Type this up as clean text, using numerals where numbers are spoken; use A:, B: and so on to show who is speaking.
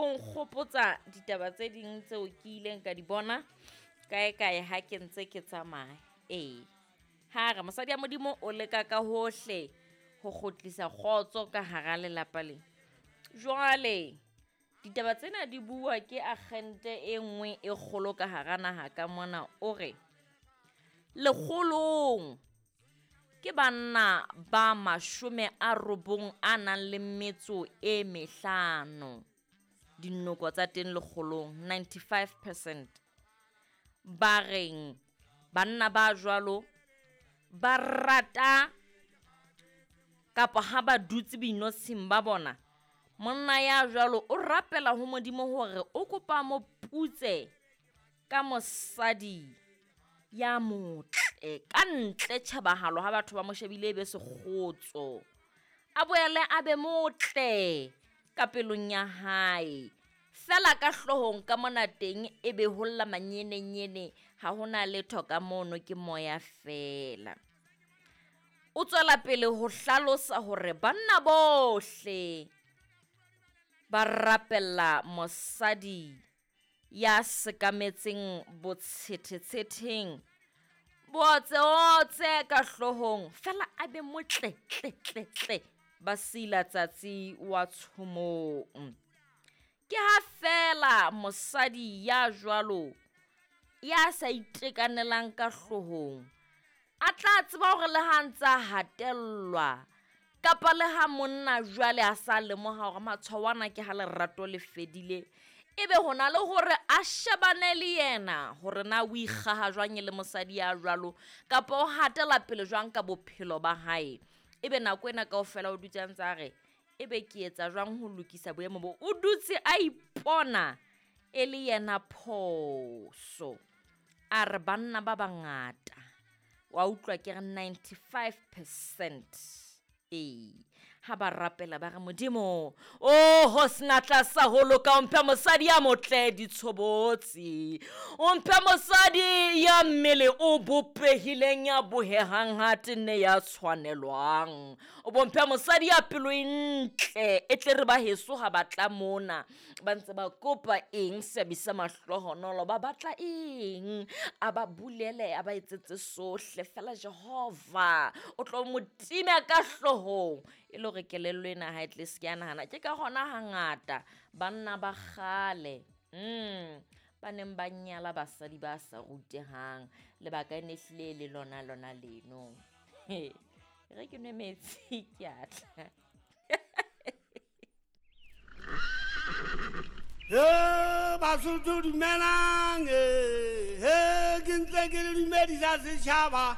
A: O nkgopotsa ditaba tse ding tseo ke ileng ka di bona kae kae ha ke ntse ke tsamaya. Ee, ha re mosadi ya Modimo o leka ka hohle ho kgutlisa kgotso ka hara lelapa le. Jwale ditaba tsena di bua ke akgente e nngwe e kgolo ka hara naha ka mona o re, lekgolong ke banna ba 95 a nang le metso e mehlano. Dinoko tsa teng lekgolong, 95%. Ba reng banna ba jwalo ba rata kapa ha ba dutse boinotshing ba bona, monna ya jwalo o rapela ho Modimo hore o kopa moputse ka mosadi ya motle ka ntle tjhebahalo ha batho ba mo shebile e be sekgotso. A boele a be motle ka pelong ya hae. Feela ka hloohong ka mona teng e be ho lla manyenenyene, ha hona letho ka mono ke moya feela. O tswela pele ho hlalosa hore banna bohle ba rapella mosadi ya sekametseng botshethetshetheng, bootseotse ka hloohong, feela a be motle tle tle tle ba sila tsatsi wa tshomong. Ke ha feela mosadi ya jwalo ya sa itekanelang ka hloohong a tla tseba hore le ha ntsa hatellwa kapa le ha monna jwale a sa lemoha hore matshwao ana ke ha lerato le fedile, ebe hona le hore a shebane le yena hore na o ikgaha jwang e le mosadi ya jwalo kapa o hatela pele jwang ka bophelo ba hae. Ebe nako ena kaofela o dutse a ntse a re, ebe ke etsa jwang ho lokisa boemo bo? O dutse a ipona e le yena phoso. A re banna ba bangata, wa utlwa ke re 95%. Ee, ha ba rapela ba re Modimo, oho senatla sa ho loka, o mphe mosadi ya motle ditshobotsi, o mphe mosadi ya mmele o bopehileng, ya bohehang ha tenne ya tshwanelwang, o bo mphe mosadi ya pelo e ntle, e tle re ba heso ha ba tla mona ba ntse ba kopa eng seabi sa mahlohonolo, ba batla eng, a ba bulele, a ba etsetse sohle fela Jehova o tlo mo time ka hloohong. E le hore kelello ena ha e tle se ke ya nahana. Ke ka hona hangata banna ba kgale ba neng ba nyala basadi ba sa rutehang, lebaka e ne hlile le lona lona leno. He, re ke nwe metsi ke a tla.
B: He Basotho dumelang, he ke ntse ke le dumedisa setjhaba.